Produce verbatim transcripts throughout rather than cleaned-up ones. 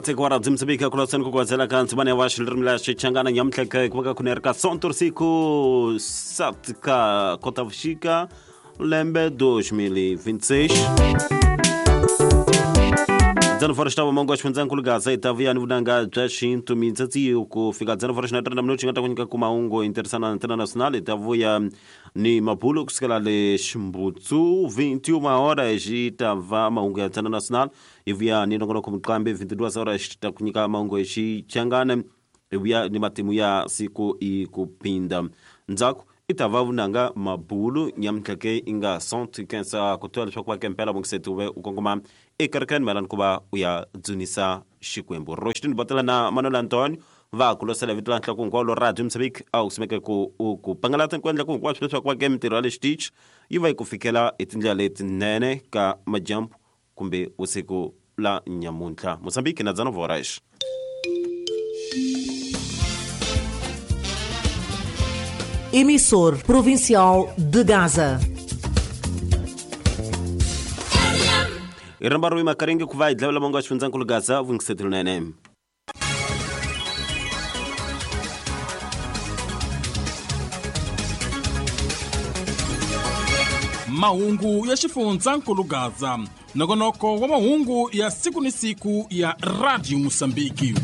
Tseko wa Radio Mozambique kulasani ku kwazela ka ntsibane wa xilirimi la Xichangana nyamutlha ku va ka kuneri ka Sonto siku sete ka Kotavuxika lembe dois mil e vinte e seis. dezenove horas estava mongo xifundzankulu Gaza itavuya ni vunanga bya xintu mintsatsi ku fika dezenove horas na trinta minutos nga ta ku nyika ku mahungu internacional internacional itavuya ni mabulo kusukela le Ximbutsu vinte e uma horas itava mahungu ya internacional ivuya ni nongonoko muqambi vinte e duas horas ta ku nyika mahungu ya Xichangana ivuya ni matimu ya siku ikupinda ndzhaku itava vunanga mabulu nyamutlha ke inga cento e quinze ku tiva leswaku va kempela bongiseti uve u kongoma ekerekeni mayelana ku va u ya dzunisa Xikwembu. Roshtini Botela na Manuel Antonio va ku losela vito la nhloko hinkwalo Radio Mozambique a wu simeke ku u ku pangalata ku endla ku hinkwaswo leswaku va ke mintirho ya le xitichi yi va yi ku fikela hi tindlela letinene ka majambu kumbe usiku la nyamuntlha. Mozambique na dezenove horas. Emissor Provincial de Gaza. Iramba rui makaringi ku va hi dlavela mongo wa xifundzankulu Gaza vungisetelo nene. Mahungu ya xifundzankulu Gaza, nongonoko wa mahungu ya siku ni siku ya Radio Mozambique.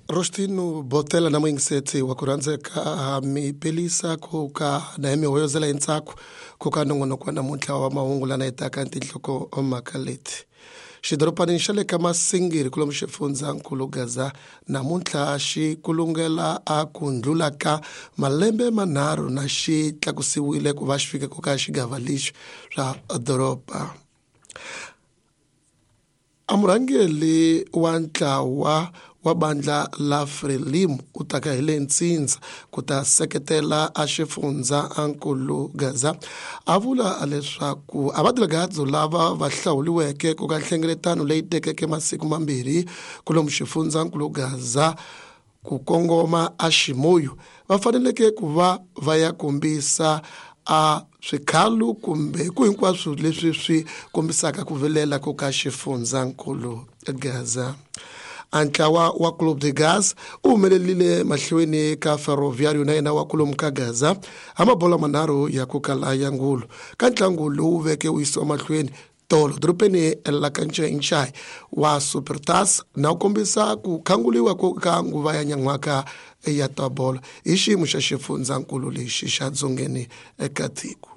Rostino Botela na mwingiseti wa kurhandzeka mipelisa ku ka na mihoyozela hintsako ku ka nongonoko wa namuntlha wa mahungu lana hitaka tinhloko mhaka leti. Xidoropanini xa le ka Masingiri kulomu xifundzankulu Gaza namuntlha xi kulungela a ku ndlula ka malembe manharhu na xi tlakusiwile ku va xi fika ku ka xigava lexi swa doroba. A murhangeri wa ntlawa wa bandla la Frelimo u taka hi le Ntsindza ku ta seketela a xifundza ankulu Gaza a vula leswaku a vadelegado lava va hlawuriweke ku ka nhlengeletano leyi tekeke masiku mambirhi kulomu xifundza nkulu Gaza ku kongoma a Ximoyo va faneleke ku va va ya kombisa a swikhalu kumbe ku hinkwaswo leswi swi kombisaka ku vilela ku ka xifundzankulu Gaza. Antlawa wa Clube de Gaza u humelelile mahlweni ka Ferroviário na yena wa kulomu ka Gaza ha mabola manharhu ya ku kala ya ngulu ka ntlangu lowu veke wu yisiwa mahlweni tolo dorobeni la ka Nchainchai wa Supertas na ku kombisa ku khanguliwa ku ka nguva ya nyan'waka ya tabolo hi xiyimo xa xifundzankulu lexi xa dzongeni eka tiko.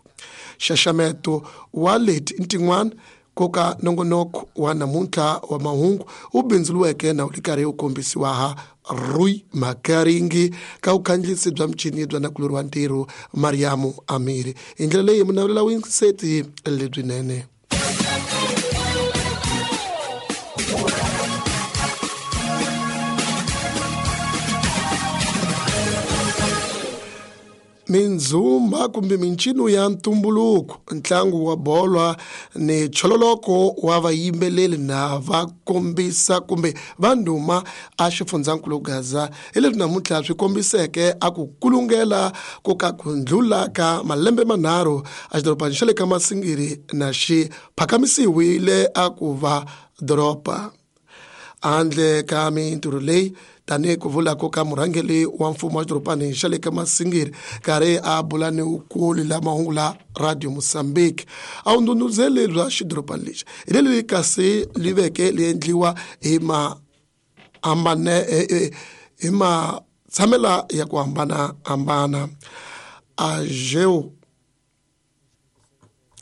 Xaxameto wa leti ntin'wana koka nongonoko wa namuntlha wa mahungu wu bindzuriweke na wu ri karhi wu kombisiwa ha Rui Makaringi ka vukhandziyisi bya michini bya nakulori wa ntirho Mariamu Amiri. Hi ndlela leyi munavela winseti lebyinene. Mindzumba kumbe mincino ya ntumbuluko, ntlangu wa bolo ni chololoko wa vayimbeleri na va kombisa kumbe va ndhuma a xifundzankulu Gaza hi leswi namuntlha swi kombiseke a ku kulungela ku ka ku ndlula ka malembe manharhu a xidorobani xa le ka Masingiri na xi phakamisiwile a ku va doroba. Handle ka mintirho leyi tanihi ku vula ku ka murhangeri wa mfumo wa xidorobani xa le ka Masingiri karhi a bula ni wukulu la mahungu la Radio Mozambique a wu ndhundhuzeli bya xidorobani lexi hi leri kasi li veke li endliwa hi ma hambane hi matshamela ya ku hambanahambana. A jeu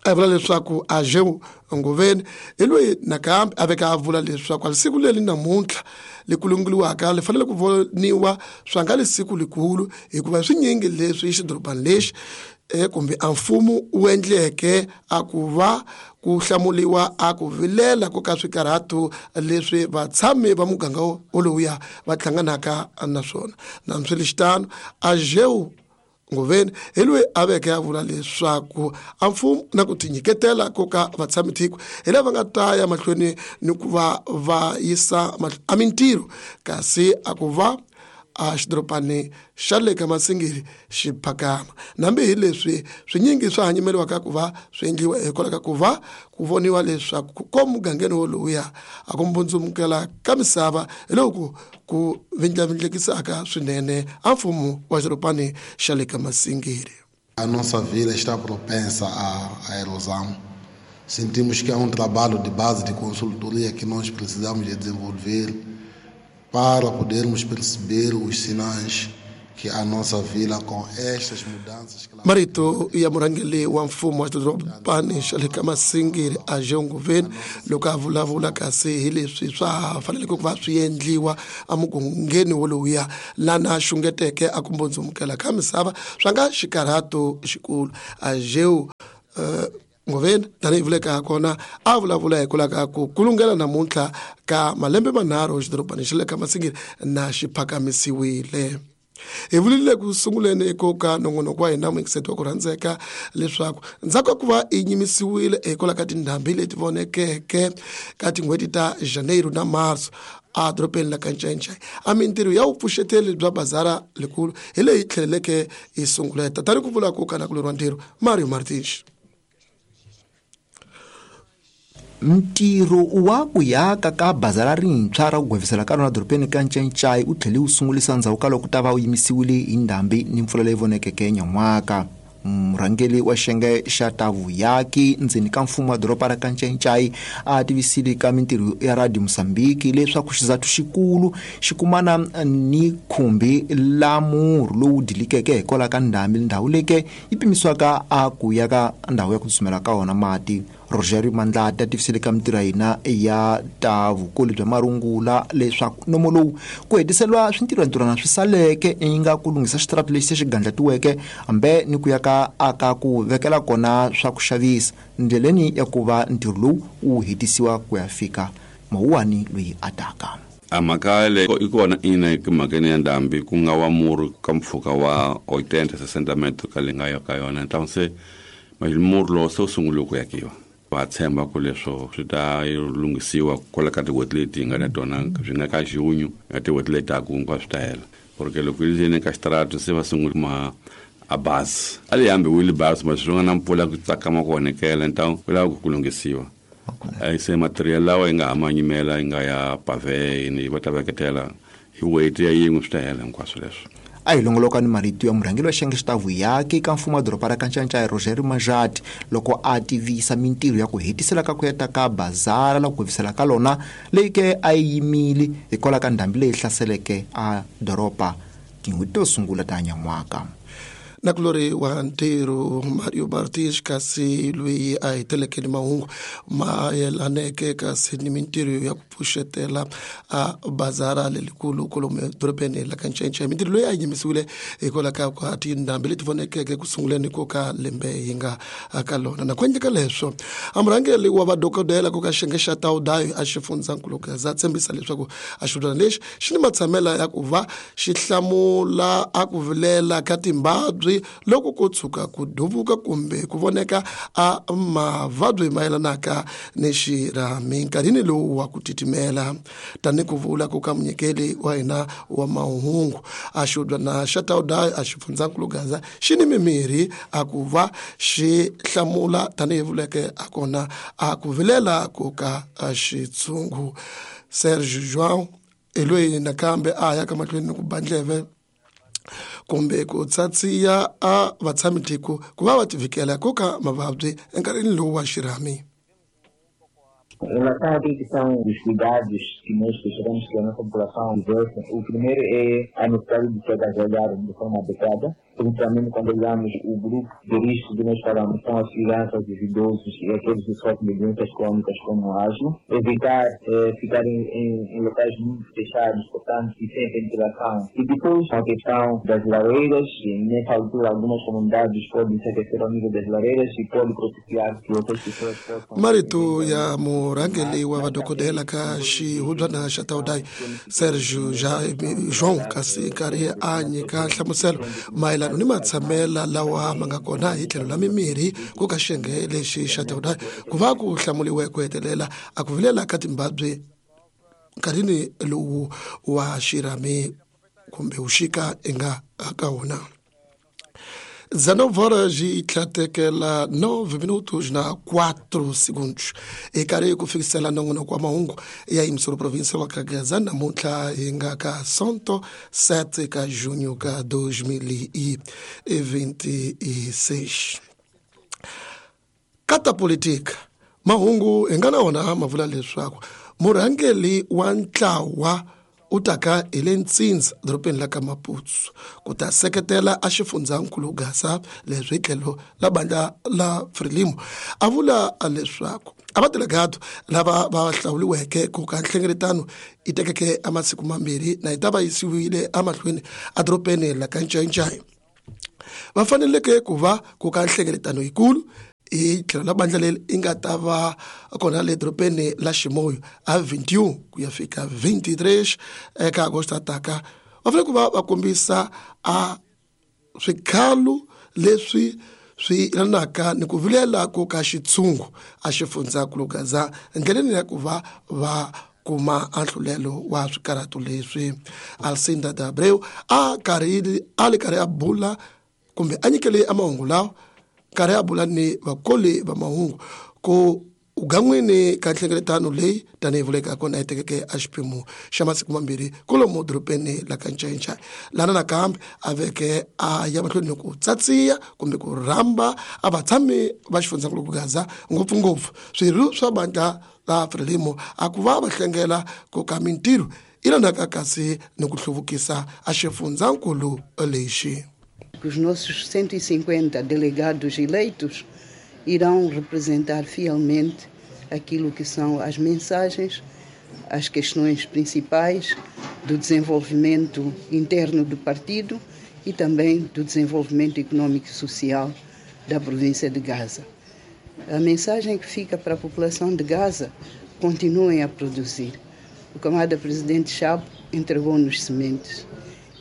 a vula leswaku a jeu Ngoveni hi loyi nakambe a veka a vula leswaku a siku leri namuntlha li kulunguriwaka li fanele ku voniwa swa nga lisiku likulu hikuva swinyingi leswi xidorobani lexi kumbe a mfumo wu endleke a ku va ku hlamuliwa a ku vilela ku ka swikarhato leswi vatshami va muganga wolowuya va hlanganaka na swona. Nambiswiritano a jeu Ngoveni hi loyi a veke a vula leswaku a mfumo na ku tinyiketela ko ka vatshami tiko hi lava nga ta ya mahlweni ni ku va va yisa a mintirho kasi a ku va a xidorobani xa le ka Masingiri xi phakama nambi hi leswi swinyingi swa hanyimeriwaka ku va swi endliwa hikwalaho ka ku va ku voniwa leswaku ko mugangeni woluya a ku mbundzumukela ka misava hi loko ku vindlavindlekisaka swinene a mfumo wa xidorobani xa le ka Masingiri. A nossa vila está propensa à, à erosão. Sentimos que há um trabalho de base de consultoria que nós precisamos de desenvolver para podermos perceber os sinais que a nossa vila com estas mudanças... Marito ya murhangeri wa mfumo wa xidorobani xa le ka Masingiri a Jonguveni loko a vulavula kasi hi leswi swa faneleke ku va swi endliwa emugangeni wolowuya lana xungeteke a ku mbundzumukela ka misava swa nga xikarhato xikulu. A Jeu uh, Ngoveni tanihi vuleka kona a vulavula hikwalaho ka ku kulungela namuntlha ka malembe manharhu xidorobani xa le ka Masingiri na xi phakamisiwile. Hi vulile ku sunguleni ko ka nongonoko wa hina muyingiseti wa ku rhandzeka leswaku ndzhaku ka ku va yi nyimisiwile hikwalaho ka tindhambi leti vonekeke ka tin'hweti ta Janeiro na Marso a dorobeni la ka Ncencei a mintirho ya vupfuxeteli bya bazara lekulu hi leyi tlheleleke yi sunguleta tani ku vula ku kana kuleriwa ntirho Mario Martins. Ntirho wa ku yaka ka bazara rintshwa ra ku gwevisela ka rona dorobeni ka Ncencei u tlhele wu sungulisa ndzhaku ka loko ku ta va wu yimisiwile hi ndhambi ni mpfula leyi vonekeke nyan'waka. Murhangeri wa xiyenge xa ta vuyaki ndzeni ka mfumo wa doroba ra ka Ncencei a tivisile ka mintirho ya Radio Mozambique leswaku xizathu xikulu xi kumana ni khumbi la murhu lowu dilikeke hikwalaho ka ndhambi ndhawu leke yi pimisiwaka a ku ya ka ndhawu ya ku tsutsumela ka wona mati. Rogerio Mandlata tivisile ka mintirho ya hina ya ta vukoli bya marungula leswaku nomo lowu ku hetiseriwa swintirhwantirhwana swi saleke yi nga ku lunghisa xitarata lexi se xi gandlatiweke hambe ni ku ya ka aka ku vekela kona swa ku xavisa ndleleni ya ku va ntirho lowu wu hetisiwa ku ya fika mawuwani loyi a taka. A mhaka leyi i kona ina mhakeni ya ndhambi ku nga wa murhu ka mpfhuka wa oitenta sessenta metro ka leyi nga ya ka yona então se murhu lowu se wu sungule ku yakiwa. Va tshemba ku leswo swi ta lunghisiwa kwala ka tin'hweti leti hi nga na tona swi nga ka junho na tin'hweti leti taku hinkwaswo swi ta hela porque loko yi le ka xitarata se va sungule ma a bazi a le hambiwile bazi ma swi nga na mpfula ku tsakama ku onhekela então ku lava ku lunghisiwa se material lawa yi nga ha ma nyimela yi nga ya pave ni va ta veketela hi weight ya yin'we swi ta hela hinkwaswo leswo. A hi longoloka ni marito ya murhangeri wa xiyenge xa ta vuyaki ka mfumo wa doroba ra ka Ncencei Rogerio Majati loko a tivisa mintirho ya ku hetisela ka ku heta ka bazara la ku gwevisela ka lona leyi ke a yi yimile hikwalaho ka ndhambi leyi hlaseleke a doroba tin'hweti to sungula ta nyan'waka. Nakulori wa ntirho Mario Martins kasi loyi a heteleke ni mahungu mayelaneke kasi ni mintirho ya ku pfuxetela a bazara lelikulu kolomu edorobeni la ka Ncencei. Mintirho loyi a yi yimisiwile hikwalaho ka ku tindhambi leti vonekeke ku sunguleni ko ka lembe hi nga ka lona. Na ku endleka leswo a murhangeri wa vadokodela ku ka xiyenge xa Taudayo a xifundzankulu Gaza tshembisa leswaku a xidlwana lexi xi ni matshamela ya ku va xi hlamula a ku vilela ka timbabyi loko ko tshuka ku duvuka kumbe ku voneka a mavabyi mayelanaka ni xirhami nkarhini lowu wa ku titimela. Tani ku vula ku ka munyikeli wa hina wa mahungu a xidlwana xa Taudayo a xifundzankulu Gaza xi ni mimirhi a ku va xi hlamula tanihi vuleke a kona a ku vilela ku ka xitshungu. Serge João hi loyi nakambe a ya ka mahlweni ni ku ba ndleve kumbe ku tsatsiya a vatshamitiko ku va va tivikela ku ka mavabyi enkarhini lowu wa xirhami. Em relação àquilo que são os cuidados que nós gostaríamos que a nossa população tivesse, o primeiro é a necessidade de se agasalhar de forma adequada, principalmente quando olhamos o grupo de risco que nós falamos, são as crianças, os idosos e aqueles que sofrem de doenças crônicas como o asma. Evitar eh, ficar em, em, em locais muito fechados, portanto, e sem ventilação. E depois a questão das lareiras, e nessa altura algumas comunidades podem se aquecer ao nível das lareiras e pode propiciar que outras pessoas possam... Marito ya murhangeri wa vadokodela ka xihubyana xa Taudayo Sergio João kasi nkarhi a nyika nhlamuselo mayelana ni matshamela lawa ma nga kona hi tlhelo la mimirhi ku ka xiyenge lexi xa Taudayo ku va ku hlamuliwe ku hetelela a ku vilela ka timbabyi nkarhini lowu wa xirhami kumbe uxika i nga ka wona. dezenove horas e tlatekela nove minutos na quatro segundos. E karhi ku fikisela nongonoko wa mahungu ya emissora provincial ka Gaza namuntlha hi nga ka Sonto sete ka junho ka dois mil e vinte e seis. Kata politika mahungu hi nga na wona ma vula leswaku murhangeri wa ntlawa u taka hi le Ntsindza dorobeni la ka Maputo ku ta seketela a xifundzankulu Gaza leswi tlhelo la bandla la Frelimo a vula leswaku a vadelegado lava va hlawuriweke ku ka nhlengeletano yi tekeke a masiku mambirhi na yi ta va yisiwile emahlweni a dorobeni la ka Ncayincai va faneleke ku va ku ka nhlengeletano yikulu hi tlhelo la bandla leri yi nga ta va kona le dorobeni la Chimoio a vinte e um ku ya fika vinte e três eka agosto taka va fanele ku va va kombisa a swikhalo leswi swi yelanaka ni ku vilela ku ka xitshungu a xifundzankulu Gaza endleleni ya ku va va kuma anhlulelo wa swikarhato leswi. Alcinda de Abreu a karhi a li karhi a bula kumbe a nyikele a mahungu lawa karhi a bula ni vakoli va mahungu ku ugan'wini ka nhlengeletano leyi tanihi vuleka kona yi tekeke a xiphemu xa masiku mambirhi kwalomu dorobeni la ka Ncayincai lana nakambe a veke a ya mahlweni ku tsatsiya kumbe ku rhamba a vatshami va xifundzankulu Gaza ngopfungopfu swirho swa bandla la Frelimo a ku va va hlengela ku ka mintirho yi lanaka kasi ni ku hluvukisa a xifundzankulu lexi. Os nossos cento e cinquenta delegados eleitos irão representar fielmente aquilo que são as mensagens, as questões principais do desenvolvimento interno do partido e também do desenvolvimento econômico e social da província de Gaza. A mensagem que fica para a população de Gaza: continuem a produzir. O camarada presidente Chapo entregou-nos sementes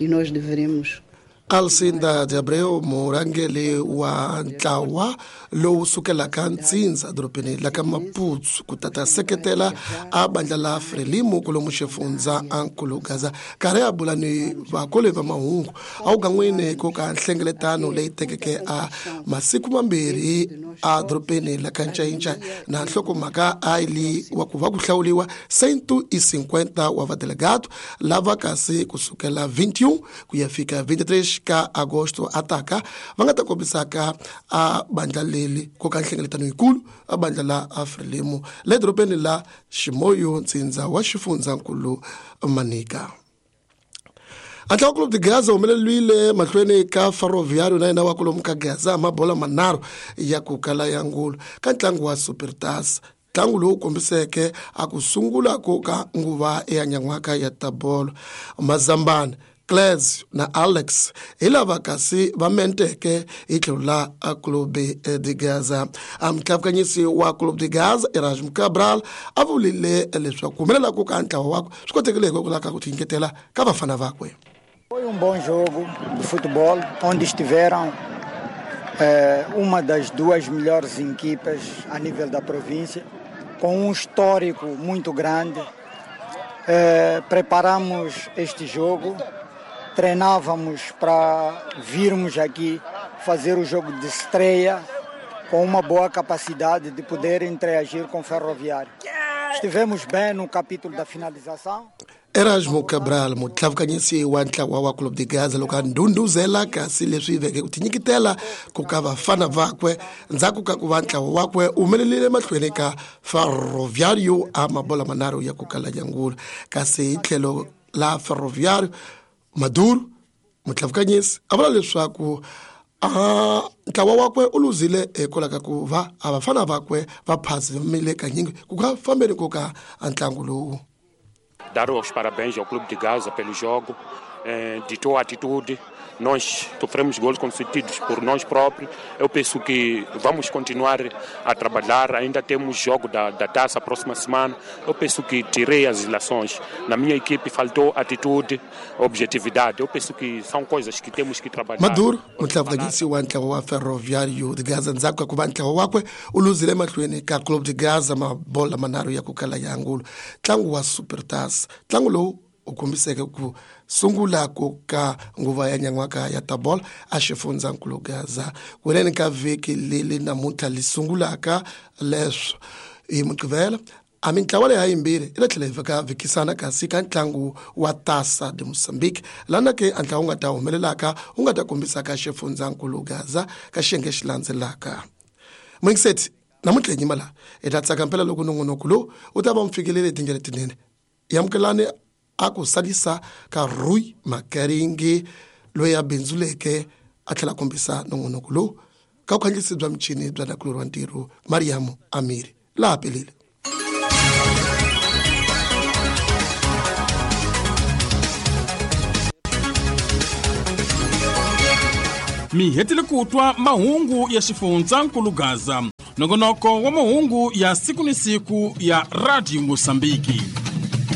e nós deveremos. Alcinda de Abreu murhangeri wa ntlawa lowu sukelaka Ntsindza dorobeni la ka Maputo ku ta ta seketela a bandla la Frelimo kwalomu xifundzankulu Gaza karhi a bula ni vakoli va mahungu a wugan'wini ku ka nhlengeletano leyi tekeke a masiku mambirhi a dorobeni la ka Ncayincai na nhlokomhaka a yi wa ku va ku hlawuriwa cento e cinquenta wa vadelegado lava kasi kusukela vinte e um ku ya fika vinte e três ka agosto ataka va nga ta kombisaka a bandla leri ku ka nhlengeletano yikulu a bandla la Frelimo le dorobeni la Chimoio Ntsindza wa xifundzankulu Manica. Antlawa Clube de Gaza humelelwile mahlweni ka Ferroviário na yena wa kwalomu ka Gaza mabola manharhu ya ku kala ya ngulu ka ntlangu wa Supertaça ntlangu lowu kombiseke a ku sungula ku ka nguva ya nyan'waka ya tabolo. Mazambani Cles na Alex hi lava kasi va menteke hi tlhelo la Clube de Gaza. Mutlavukanyisi wa Clube de Gaza Erasmo Cabral a vulile leswaku ku humelela ku ka ntlawa wakwe swi kotekile hikokwalaho ka ku tinyiketela ka vafana vakwe. Foi um bom jogo de futebol onde estiveram eh, uma das duas melhores equipas a nível da província, com um histórico muito grande. Eh, preparamos este jogo, treinávamos para virmos aqui fazer o jogo de estreia com uma boa capacidade de poder interagir com o Ferroviário. Estivemos bem no capítulo da finalização. Erasmo Cabral mutlavukanyisi wa ntlawa wa Clube de Gaza loko a ndhundhuzela kasi leswi veke ku tinyiketela ku ka vafana vakwe ndzhaku ka ku va ntlawa wakwe u humelelile mahlweni ka Ferroviário a mabola manharhu ya ku kala ya ngulu kasi hi tlhelo la Ferroviário Maduro mutlavukanyisi a vula leswaku a ntlawa wakwe u luzile hikwalaho ka ku va a vafana vakwe va phazimile kanyingi ku ka fambeni ku ka ntlangu lowu. Dar os parabéns ao Clube de Gaza pelo jogo, eh, ditou a atitude. Nós sofremos gols concedidos por nós próprios. Eu penso que vamos continuar a trabalhar. Ainda temos jogo da, da taça próxima semana. Eu penso que tirei as ilações. Na minha equipe faltou atitude, objetividade. Eu penso que são coisas que temos que trabalhar. Maduro, mutlavukanyisi wa ntlawa wa Ferroviário de Gaza ndzhaku ka ku va ntlawa wakwe u luzile mahlweni ka Clube de Gaza mabola manharhu ya ku kala ya ngulu ntlangu wa Supertaça ntlangu lowu u kombiseke ku sungula ku ka nguva ya nyan'waka ya tabol a xifundzankulu Gaza kunene ka vhiki leli namuntlha li sungulaka leswo hi Mugqivela a mintlawa leyi hayimbirhi yi ta tlhela yi veka vhikisana kasi ka ntlangu wa Taça de Moçambique lana ke a ntlawa wu nga ta humelelaka wu nga ta kombisaka xifundzankulu Gaza ka xiyenge xi landzelaka. Muyingiseti namuntlha hi nyima laha hi ta tsaka mpela loko nongonoko lowu wu ta va mu fikelele hi tindlela tinene. Amukelani a ku salisa ka Rui Makaringi loyi a bindzuleke a tlhela a kombisa nongonoko lowu ka vukhandziyisi bya michini bya nakulorhi wa ntirho Mariam Amiri laha pelele. Mi hetile ku twa mahungu ya xifundzankulu Gaza, nongonoko wa mahungu ya siku ni siku ya Radio Mozambique.